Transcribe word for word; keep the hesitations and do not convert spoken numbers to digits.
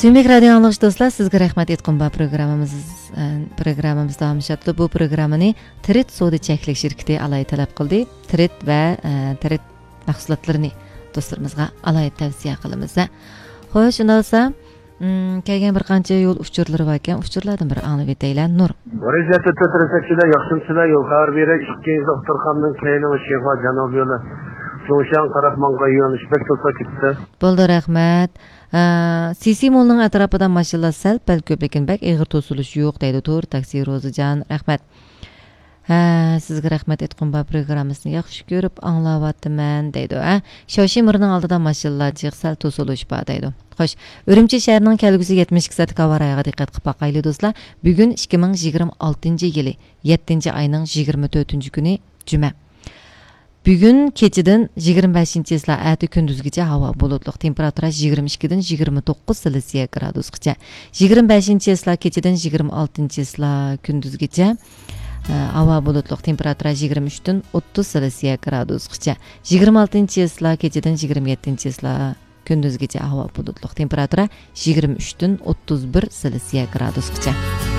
سۆيۈملۈك رادىيو ئاڭلىغۇچى دوستلار، سىزگە رەھمەت ئېيتقۇم بار پروگراممىمىز، ئە، پروگراممىمىز داۋاملىشاتتى. بۇ پروگراممىنى تىرىت سودا چەكلىك شىركىتى ئالاھىدە تەلەپ قىلدى. تىرىت ۋە، ئە، تىرىت مەھسۇلاتلىرىنى دوستلىرىمىزغا ئالاھىدە تەۋسىيە قىلىمىز. خوش، ئۇنداق بولسا، ئم، كەلگەن بىر قانچە يول ئۇچۇرلىرى باركەن، ئۇچۇرلاردىن بىر ئاڭلىۋېتەيلى، نۇر. ۋەزىيەتتە تۆت رېكەتچىلەر، ياخشىمسىلەر، يول خەۋەر بېرەي. ئىككىنچى ئۇتتۇرخاننىڭ كەينىڭ شىنخۇا جەنۇب يولى، جۇڭشياڭ تەرەپ ماڭغان يۆنىلىش بەك توسا كېتىپتۇ. بولدى، رەھمەت. ئە، سىسى مولنىڭ ئەتراپىدا ماشىنىلار سەل پەل كۆپ، لېكىن بەك ئېغىر توسۇلۇش يوق، دەيدۇ تور تاكسى روزىجان. رەھمەت. ھە، سىزگە رەھمەت ئېيتقۇم بار، پروگراممىسىنى ياخشى كۆرۈپ ئاڭلاۋاتىمەن، دەيدۇ. ھە، شاۋشى مىرنىڭ ئالدىدا ماشىنىلار جىق، سەل توسۇلۇش بار، دەيدۇ. خوش، ئۈرۈمچى شەھىرىنىڭ كەلگۈسى يەتمىش ئىككى سائەتلىك ھاۋا رايىغا دىققەت قىلىپ باقايلى، دوستلار. بۈگۈن ئىككى مىڭ يىگىرمە ئالتىنچى يىلى يەتتىنچى ئاينىڭ يىگىرمە تۆتىنچى كۈنى، جۈمە. بۈگۈن كېچىدىن يىگىرمە بەشىنچى چىسلا ئەتە كۈندۈزگىچە ھاۋا بۇلۇتلۇق، تېمپېراتۇرا يىگىرمە ئىككىدىن يىگىرمە توققۇز سېلسىيە گرادۇسقىچە. يىگىرمە بەشىنچى چىسلا كېچىدىن يىگىرمە ئالتىنچى چىسلا كۈندۈزگىچە، ئە، ھاۋا بۇلۇتلۇق، تېمپېراتۇرا يىگىرمە ئۈچتىن ئوتتۇز سېلسىيە گرادۇسقىچە. يىگىرمە ئالتىنچى چىسلا كېچىدىن يىگىرمە يەتتىنچى چىسلا كۈندۈزگىچە ھاۋا بۇلۇتلۇق، تېمپېراتۇرا يىگىرمە ئۈچتىن ئوتتۇز بىر سېلسىيە گرادۇسقىچە.